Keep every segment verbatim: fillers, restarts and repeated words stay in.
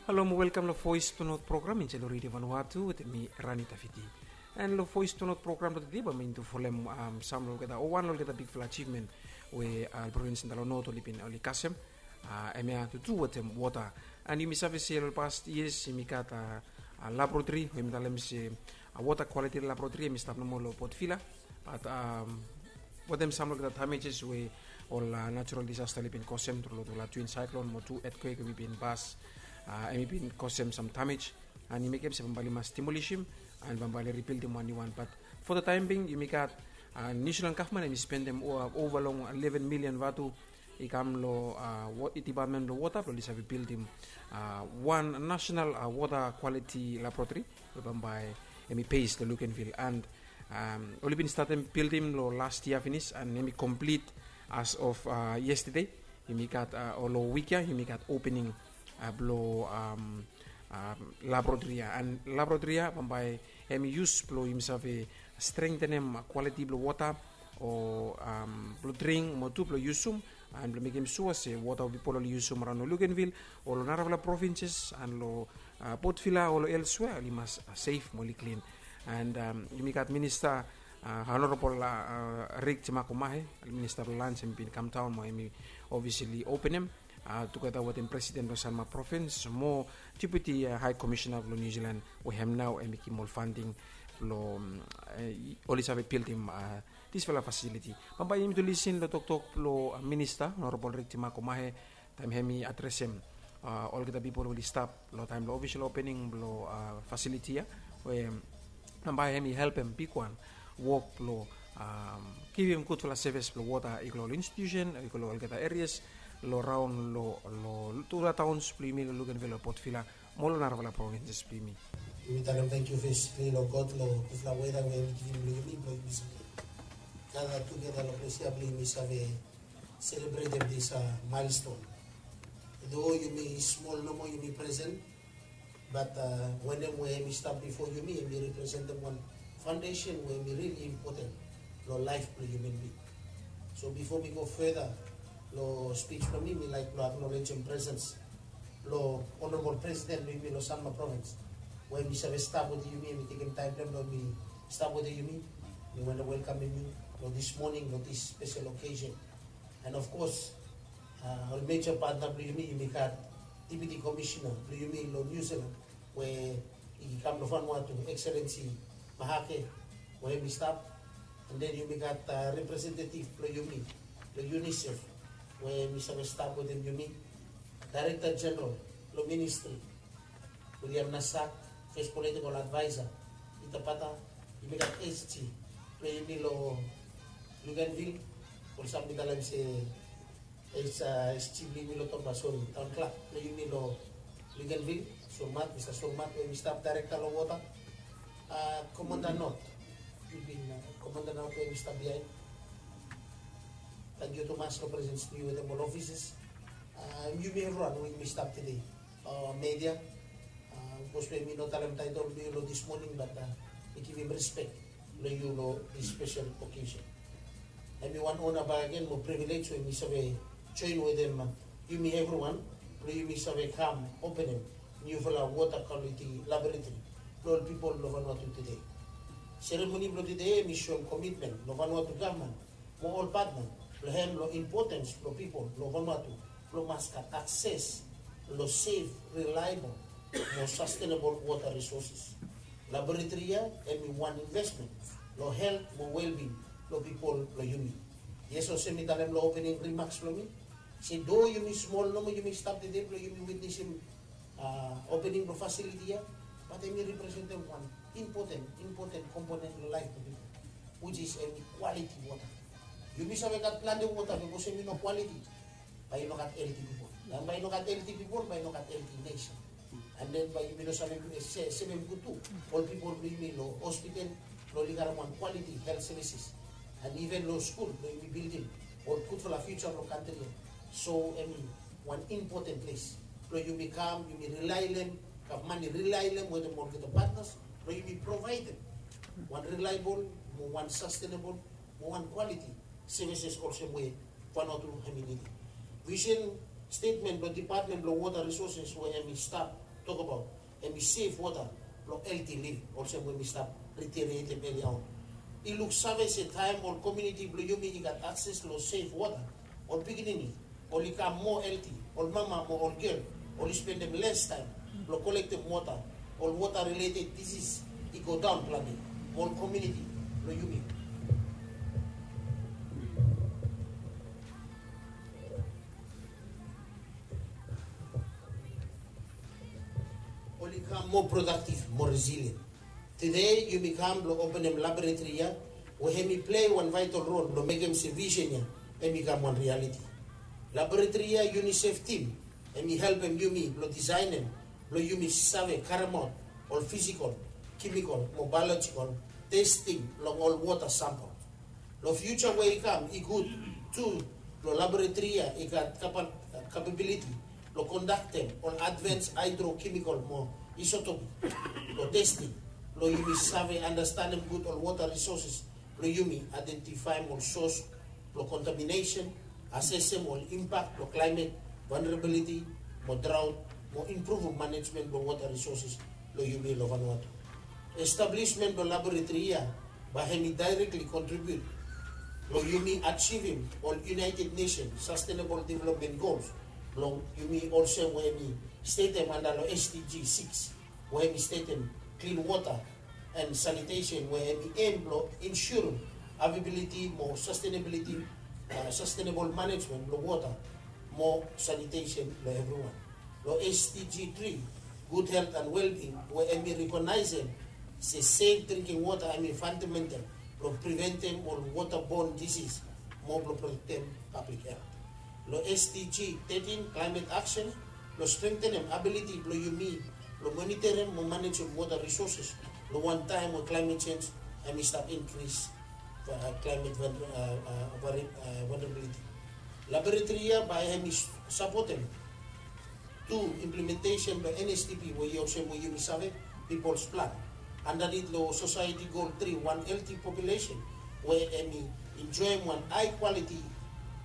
Halo mo welkam long Voice to North program insait long Radio Vanuatu wetem mi, Rani Tafiti. And long Voice to North program blong tede bae mi tu folem, um, sam long olgeta o wan long olgeta bigfala achievement we, uh, provins long North oli bin oli kasem, uh, hemia tu tu wetem wota. And yumi save se long past years yumi gat, uh, uh, laboratory we yumi talem se, uh, water quality laboratory, hemi stap nomo long Port Vila. But, um, wetem sam long olgeta damages we ol, uh, natural disaster oli bin kosem tru long tufala twin cyclone mo tu earthquake we bin pas, uh, hemi bin kosem sam damage. And i mekem se bambae oli mas demolisim and bambae oli ribildim wan niu wan. But for the time being yumi gat, uh, New Zealand gavman hemi spendem o-, ova long eleven million vatu i kam long, uh, wa-, department blong wota blong oli save bildim, uh, wan national, uh, water quality laboratory we bambae hemi base long Luganville. And, um, oli bin statem bildim long last yia finis and hemi complete as of, uh, yesterday. Yumi gat, uh, o long wik ya yumi gat opening, uh, blong, um, um, laboratory ya. And laboratory ya bambae hemi yus blong yumi save strengthenem quality blong wota o, um, blong dring mo tu blong yusum and blong mekem sua se wota we pipol oli yusum araon long Luganville o long narafala provinces and long, uh, Port Vila o long elsewhere oli mas, uh, safe mo oli klin. And, um, yumi gat minista, uh, Honorable, uh, uh, Rick Temakomahe, minista blong lands, hemi bin kamdaon mo hemi officially openem, uh, tugeta wetem president blong Sanma Province mo deputy, uh, high commissioner blong New Zealand we hem nao hemi givim ol funding blong, um, uh, oli save bildim, uh, disfala facility. Bambae yumi tu lisin long toktok blong, uh, minista Honorable Rick Temakomahe taem hemi adresem, uh, olgeta pipol we oli stap long taem blong official opening blong, uh, facility ya we bambae hemi helpem bigwan wok blong, um, givim gudfala sevis blong wota i go long ol institution i go long olgeta areas long raon long, long tufala taons blong yumi long Luganville o Port Vila mo long narafala provinces blong yumi. Yumi talem tangkiu fes long God long gudfala weda we hemi givim long yumi blong yumi save gada tugeta long ples ya blong yumi save selebretem dis, uh, milestone. Though yumi smol nomo yumi presen, but, uh, wanem we hemi stap bifo yumi hemi representem wan foundation we hemi rili impoten long laef blong hiuman bing. So bifo mi go further long spij blong mi, mi laek blong aknolejem presens blong Honorable President blong yumi long Sanma Province we hemi save stap wetem yumi, hemi tekem taem blong hem blong hemi stap wetem yumi. Mi wantem welkamem yu long dis moning long dis spesel occasion. And of course, uh, ol major partner blong yumi, yumi gat Deputy Commissioner blong yumi long New Zealand we i kam long Vanuatu, Excellency Mahake we hemi stap. And then yumi gat, uh, representative blong yumi long UNICEF we hemi save stap wetem yumi, Director General blong ministry, William Nasak, First Political Advisor, Peter Pata. Yumi gat SG blong yumi long Luganville, olsem mi talem se, uh, SG blong yumi long Toba, sori, Town Clerk blong yumi long Luganville, Surmat, Mista Surmat we hemi stap, Director long Wota, uh, Commander North, yumi bin, uh, Commander North we hemi stap biaen. Tangkiu tumas long presens blong yu wetem ol ofisas. Uh, yumi evriwan we yumi stap tede, uh, media, uh, bikos we mi no talem taetol blong yu long dis moning, bat, uh, mi givim rispek long yu long dis spesel okeson. Hemi wan ona bakegen mo privilej we mi save joen wetem, uh, yumi evriwan blong yumi save kam openem niufala water quality laboratory blong ol pipol blong Vanuatu tede. Seremoni blong tede hemi soem komitmen blong Vanuatu gavman mo ol patna blong hem long impotens blong pipol blong Vanuatu blong mas gat akses long sef, rilaebol mo sastenebol wota risoses. Laboratori ya hemi wan investmen long helt mo welbing blong pipol blong yumi. Yes, olsem mi talem long opening rimaks blong mi se do yumi smol nomo yumi stap tede blong yumi witnesim, uh, opening blong fasiliti ya, bat hemi representem wan impoten, impoten komponen long laef blong pipol, which is hemi kwaliti wota. Yumi save gat plante wota, be bikos hemi no kwaliti, bae i no gat helti pipol. Taem bae i no gat helti pipol, bae i no gat helti nesen. And then bae yumi no save, eh, se-, sevem gud tu ol pipol blong yumi long hospital blong oli gat wan kwaliti helt sevises. And iven long skul blong yumi bildim ol gudfala fiuja blong kantri ya. So hemi wan impoten ples blong yumi kam, yumi rilaelem, gavman i rilaelem wetem olgeta patnas blong yumi provaedem wan rilaebol mo wan sastenebol mo wan kwaliti sevises olsem we Vanuatu hemi nidim. Visen stetmen blong Depatmen blong Wota Risoses we hemi stap tokabaot, hemi sef wota blong helti living, olsem we mi stap reiterate hem earlier on. I luksave se taem ol komuniti blong yumi i gat akses long sef wota, ol pikinini oli kam moa helti, ol mama mo ol gel oli spendem les taem blong kolektem wota, ol wota related disis i go daon plante, mo ol komuniti blong yumi oli kam moa prodaktiv, moa resilient. Tede yumi kam blong openem laboratori ya, we hemi plei wan vaetal rol blong mekem se visen ya hemi kam wan rialiti. Laboratori ya, UNICEF tim, hemi helpem yumi blong disaenem blong yumi save karemaot ol fisikol, kemikol mo baelojikol testing long ol wota sampol. Long fiuja we i kam, i gud tu blong laboratori ya i gat kapabiliti blong kondaktem ol advens haedrokemikol mo isotop blong testing, blong yumi save andastanem gud ol wota risoses, blong yumi aedentifaem ol sos blong kontaminesen, asesem ol impak blong klaemet, vulnerability mo draot, mo impruvum manejmen blong wota risoses blong yumi long Vanuatu. Establismen blong laboratori ya bae hemi daerekli kontribiut blong yumi ajivim ol United Nations Sustainable Development Goals blong yumi, olsem we hemi stetem anda long SDG six, we hemi stetem klin wota and sanitation, we hemi em blong insurem availability mo sustainability, sustainable management blong wota mo sanitation blong evriwan. Long SDG three, good health and well-being, we hemi rekonaesem se sef drinking wota hemi fundamental blong preventem ol waterborne disease mo blong protektem public health. Long SDG thirteen, climate action, blong strengtenem abiliti blong yumi blong monitorem mo manejem wota risoses long wan taem we climate change hemi stap inkris climate vulnerability. Laboratori ya bae hemi sapotem tu implementesen blong NSDP, we i olsem we yumi save, People's Plan, andanit long Society Goal three, wan healthy population we hemi enjoem wan hae kwaliti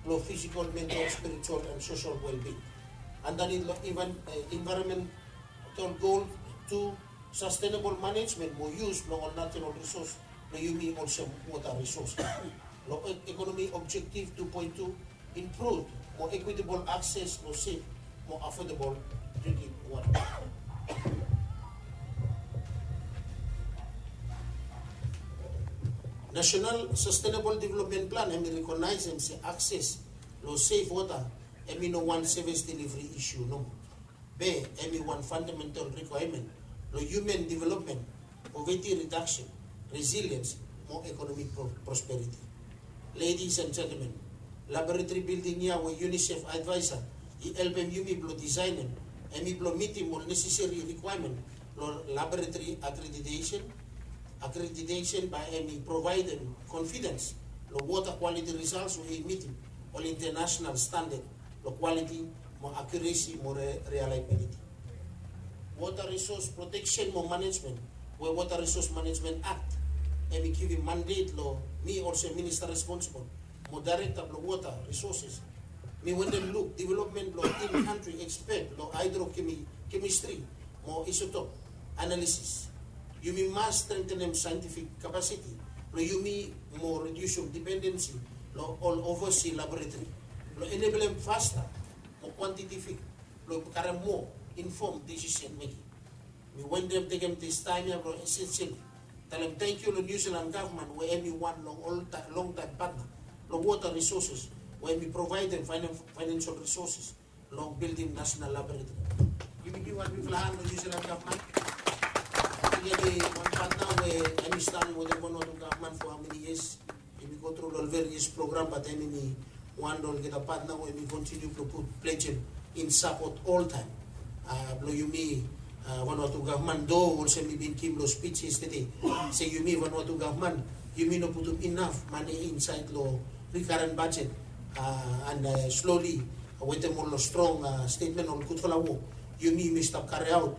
blong fisikol, mental, spiritual and sosol well-being. Andanit long envaeronmental goal tu, sustainable management mo yus blong ol natural resource blong yumi olsem wota resource. Long ekonomi objektif two point two, improve mo equitable akses long sef mo affordable drinking wota. National Sustainable Development Plan hemi rekonaesem se akses long sef wota hemi no wan sevis deliveri isu nomo. Be hemi wan fundamental requirement long human development, poverty reduction, resilience mo economic prosperity. Ladies and gentlemen, laboratory building ya we UNICEF advisor i helpem yumi blong designem, hemi blong mitim ol necessary requirement long laboratory accreditation. Accreditation bae hemi provaedem confidence long water quality results we i mitim ol international standard long quality mo accuracy mo reliability. Water Resource Protection mo Management, we Water Resource Management Act hemi givim mandate long mi olsem minista responsibol mo daerekta blong water resources. Mi wantem luk developmen blong in-country expert long hydrochemistry mo isotop analysis. Yumi mas strengthenem scientific capacity blong yumi mo reducem dependency long ol oversea laboratory blong enablem faster mo quantitative blong karem moa informed decision making. Mi wantem tekem this time ya blong essentially talem tangkiu long New Zealand gavman we hemi wan long ol longtaem patna long water resources we hemi provaedem financial resources long building national laboratory. Givim mi wan bigfala han long New Zealand gavman. Hemi wan patna we hemi stap wetem Vanuatu gavman for how many years. Yumi go tru long various program, but hemi wan long olgeta patna we yumi kontiniu blong put pledgem in support oltaem blong yumi Vanuatu gavman, do olsem mi bin givim long speech yesterday se yumi Vanuatu gavman, yumi no putum inaf mane insaed long recurrent budget and slowly wetem ol strong statement, ol gudfala wok yumi yumi stap kariaot,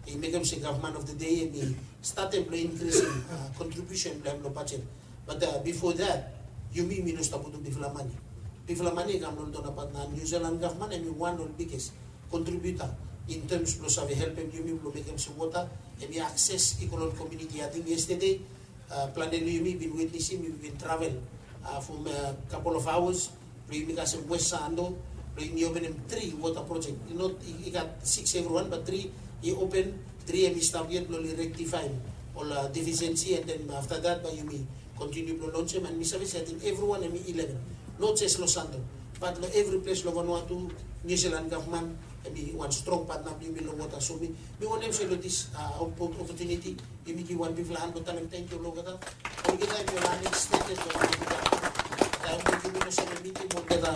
i mekem se gavman of the day hemi statem blong inkrisim contribution blong hem long budget. But bifo that, yumi yumi no stap putum bigfala mane. Bigfala mane i kam long dona patna. New Zealand gavman hemi wan long ol biggest contributor In terms blong save helpem yumi blong mekem se wota em i akses i go long komuniti. Ating yestede, plante long yumi bin witnesim, yumi bin travel from couple of hours blong yumi kasem West Sando blong yumi openem tri wota projek. I gat six evriwan, bat tri i open, tri em i stap yet blong oli rektifaem ol defisiensi, and then afta dat bae yumi kontiniu blong lonsem. And mi save se ating evriwan em i ileven, not jes long Sando, bat long evri ples long Vanuatu. Niu Silan gavman em i wan strong patna blong yumi long wota. So mi wantem se long dis opotuniti yumi givim wan bigfala han blong talem tangkiu long olgeta. Olgeta em i ol anekspektedwan, olgeta taem we yumi no save mitim olgeta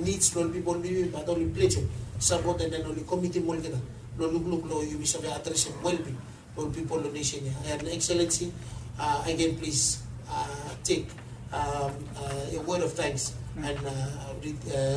nids blong ol pipol blong yumi, bat oli plejem sapot and then oli komitim olgeta long lukluk blong yumi save adresem welbing blong ol pipol long nesen ya. And Excellency, again, please take a word of thanks and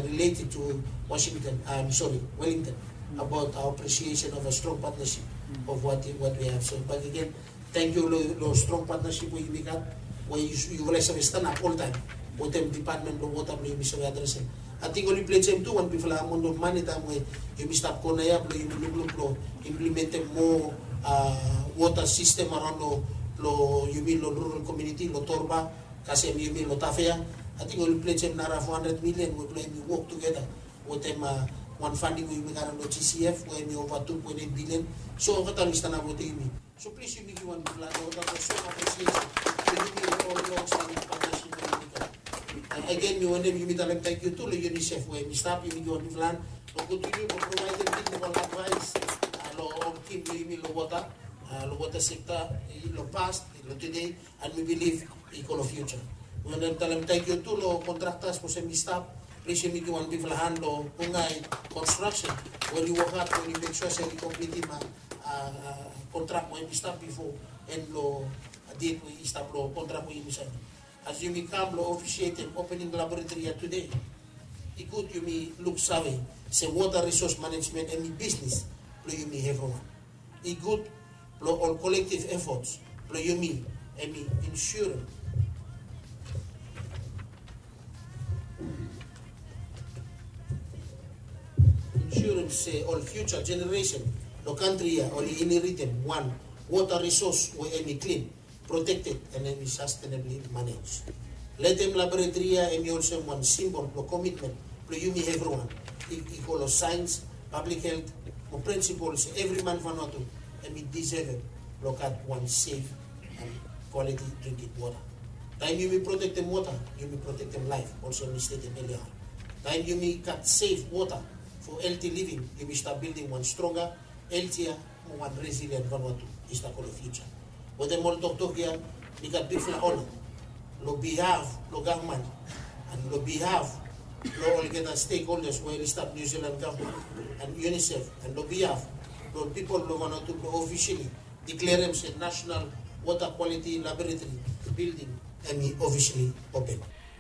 related to Washington, I'm sorry, Wellington, about our appreciation of a strong partnership of what we have. So back again, tangkiu long strong partnership we yumi gat, we yufala i save stanap oltaem wetem dipatmen blong wota blong yumi save adresem. Ating oli plejem tu wan bigfala amaon of mane taem we yumi stap go naoia blong yumi lukluk blong implementem moa wota sistem araon long yumi long rural komuniti long Torba, kasem yumi long Tafea. Ating oli plejem nara fo handred milian we blong yumi wok tugeta wetem wan fanding we yumi karem long GCF we em i ova tu poen et bilian. So olgeta oli stanap wetem yumi. So plis yumi givim wan bigfala han long olgeta blong soem apresiesen long yumi long ol long stanap patnasip blong yumi gat. Agen mi wantem yumi talem tangkiu tu long UNICEF we em i stap, yumi givim wan bigfala han blong kontiniu blong provaedem teknikol advaes long ol tim blong yumi long wota, long wota sekta long past, long tede, and mi bilif i go long fiuja. Mi wantem talem tangkiu tu long kontraktas blong olsem i stap. Plis yumi givim wan bigfala han long Bungai Construction we oli wok had we oli mek sua se oli komplitim kontrak we yumi stap bifo, and long det we i stap long kontrak we yumi saen. As yumi kam blong ofisietem opening laboratori ya tede, i gud yumi luksave se wota risos manejmen em i bisnis blong yumi evriwan. I gud blong ol kolektiv efots blong yumi em i insurem, insurem se ol fiuja jeneresen long kantri ya oli inheritem wan wota risos we em i klin, protekted, and em i sastenabli manej. Letem laboratori ya em i olsem wan simbol blong komitmen blong yumi evriwan i go long saens, pablik helt, mo prinsipol se evri man Vanuatu em i disevem blong gat wan sef and kwaliti drinking wota. Taem yumi protektem wota, yumi protektem laef, olsem mi stetem elia. Taem yumi gat sef wota fo helti living, yumi stap bildim wan stronga, heltia, mo wan resilien Vanuatu i stap go long fiuja. Wetem ol toktok ya, mi gat bigfala ona long bihaf blong gavman and long bihaf blong olgeta stekholdas we oli stap, Niu Silan gavman and UNICEF, and long bihaf blong ol pipol blong Vanuatu blong ofisili diklerem se National Water Quality Laboratory bilding em i ofisili open.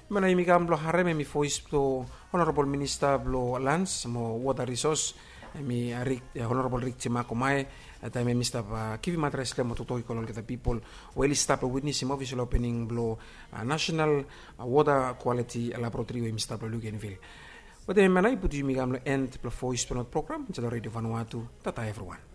Hemia nao yumi kam blong harem hemi voes blong Honorabol Minista blong Lans mo Wota Risos, hemi Honorabol Rick Jemakomae, taem hemi stap givim adres blong hem mo toktok i go long olgeta pipol we oli stap long witnesem ofisel opening blong National Water Quality Laboratory we hemi stap long Luganville. Wetem hemia nao i putum yumi kam long en blong voes blong Not program insait long Redio Vanuatu. Tata evriwan.